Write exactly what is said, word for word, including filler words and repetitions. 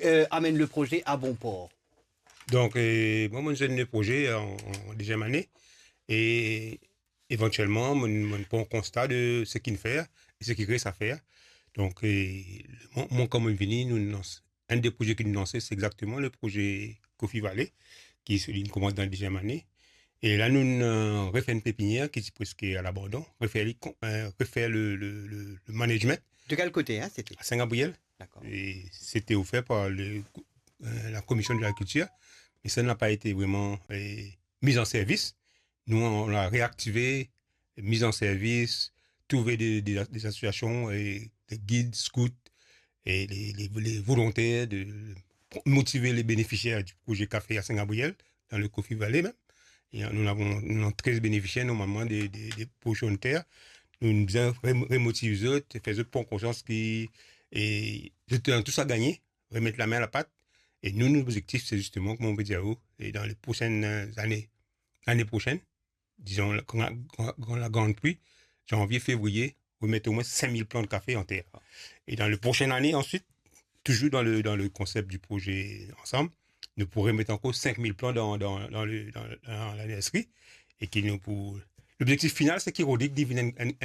euh, amenn le proze a bon por? Donk, euh, mwa, mo zenn le proze an, an dezyem ane. E evantielman, mo, mo pran konsta de seki nou fer e seki res a fer. Donk, euh, mwa, mwa, kan mo vini, nou lans, enn de proze ki nou lanse, se exakteman le proze Coffee Valley, ki se, li koumans dan dezyem ane. E la, nou, euh, refer enn pepinier ki ti preske a labandon, refer li kon-, euh, refer le, le, le, le management. De quel côté, hein, c'était? A Saint-Gabriel. D'accord. E c'était offert par le, euh, la commission de l'agriculture, mais ça n'a pas été vraiment, euh, mis en service. Nous, on l'a réactivé, mis en service, trouvé des, des, des associations, et des guides, scouts, et les, les, les volontaires, de motiver les bénéficiaires du projet café à Saint-Gabriel, dans le Coffee Valley même. Et nous avons, nous avons treize bénéficiaires normalement des, des, des portions de terre. Nou bizin re-, remotiv zot, fer zot pran konsians ki, e, zot ena tou sa gagne, remet lame a lapat. E nou, nou lobzektif, se zisteman, kouma mo pe dir a ou, e dan le prosenn, euh, zane, lane prosenn, dizon, la, gran, gran, gran, la grande pluie, zanvie, fevriye, remet omwin sink mil plan kafe an ter. E dan le prosenn ane, answit, touzour dan le, dan le konsep di proze Ansanm, nou pou remet ankor sink mil plan dan, dan, dan le, dan, dan la nursery, e ki nou pou, lobzektif final, se ki Rodrigue li vinn enn, enn,